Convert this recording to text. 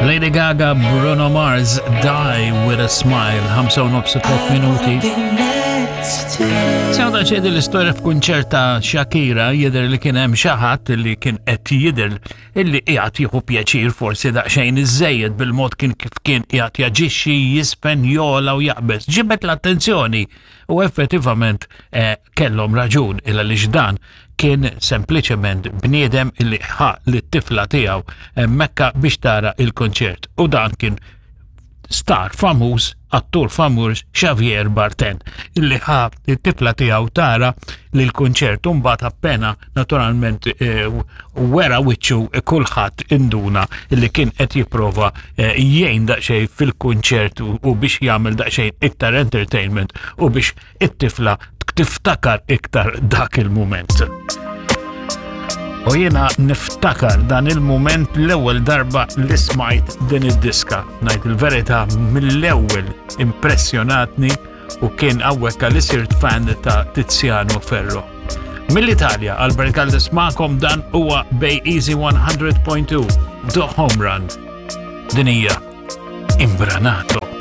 Lady Gaga, Bruno Mars, Die with a Smile, 5 nofs 3 minuti. Sewda ċedi l-istorja f'kunċert ta' Shakira jidher li kien hemm xi ħadd li kien qed jidher illi qiegħed jieħu pjaċir forsi daqsxejn iżejjed bil-mod kien kif kien qiegħed jaġixxi, jispen, jola u jaqbeż. Ġibet l-attenzjoni u effettivament eh, kellhom raġun illa li dan kien sempliċement bniedem illi ħa lit-tifla tiegħu hemmhekk biex tara il-konċert u dan kien star famuż, attur famuż Xavier Barten, illi ħa it-tifla tiegħu tara li l-kunċert u mbagħad appena naturalment eh, wera wiċċu kulħadd induna illi kien qed jipprova eh, jgħin daqsxejn fil-kunċert u biex jagħmel daqsxejn iktar entertainment u biex it-tifla tiftakar iktar dak il-mument. U jiena niftakar dan il-mument l-ewwel darba li smajt din id-diska. Ngħid il-verità mill-ewwel impressjonatni u kien hawnhekk li sirt fan ta' Tiziano Ferro. Mill-Italja, Albert Caldes ma'kom dan huwa Bay Easy 100.2, The Home Run. Din hija Imbranato.